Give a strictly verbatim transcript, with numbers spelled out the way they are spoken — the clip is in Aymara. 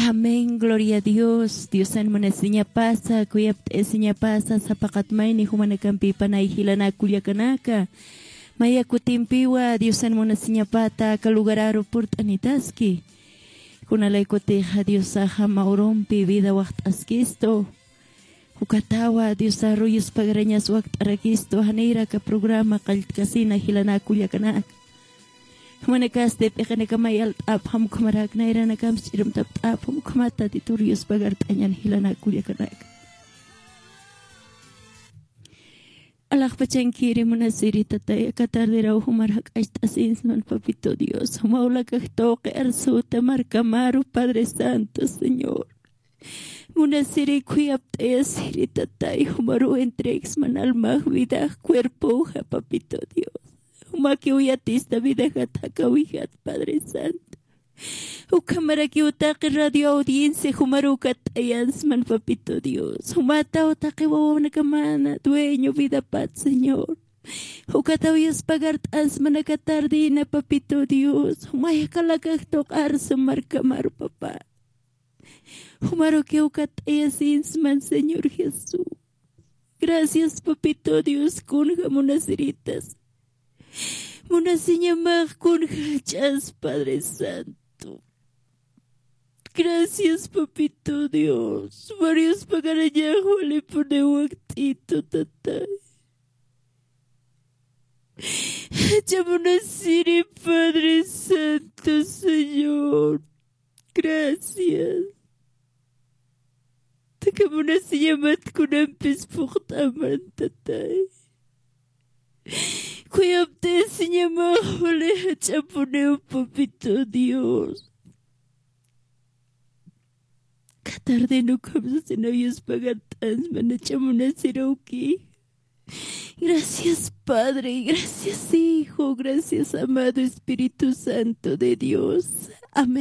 Amén, gloria a Dios. Diosan munasiñapasa, kuyapt'ayasiñapasa, sapaqat mayni jumanakampipanay jilanaka kullakanaka. Maya kutimpiwa Diosan munasiñapata aka lugararu purt'anitaski. Kunalaykutixa Diosaxa mawrumpi vida waxt'askistu. Ukatawa Diosaru yuspagarañas wakt'arakistu, janiraka programa qalltkasina jilanaka kullakanaka. Jumanakasti p'iqinakamay alt'apxam, ukhamaraki nayranakams ch'irumtapt'apxam, ukhamata Tatitur yuspagart'añan jilanaka kullakanaka. Alaxpachankiri munasiri tatay, aka tardiraw jumar jak'acht'asinsman, papito Dios. Juma ulakax tuqi arsuta markamaru, Padre Santo, Señor. Munasiri khuyapt'ayasiri tatay, jumaru entregsman almax, vidax, cuerpoxa, papito Dios. Jumakiw yatista vidaxat, jakawixat, Padre Santo. Ukhamarakiw taqi radio audiencia jumaru ukat t'ayansman, papito Dios. Jumataw taqi wawanakamana dueño vidapat, Señor. Ukataw yuspagart'ansman aka tardina, papito Dios. Jumay jakalakax tuq arsu markamaru, papá. Jumarukiw ukat t'ayasinsman, Señor Jesús. Gracias, papito Dios, kunja munasiritas. Munasiñamax kunja jach'as, Padre Santo. Gracias, papito Dios. Jumaru yuspagarañax walipuniw wakt'itu, tatay. Jach'a munasiri, Padre Santo, Señor. Gracias. Aka munasiñamat kunampis phuqt'aman, tatay. Khuyapt'ayasiñamax wali jach'apuniw, papito Dios. Aka tardin ukham sasinaw yuspagart'ansman jach'a munasiruki. Gracias, Padre. Gracias, Hijo. Gracias, amado Espíritu Santo de Dios. Amén.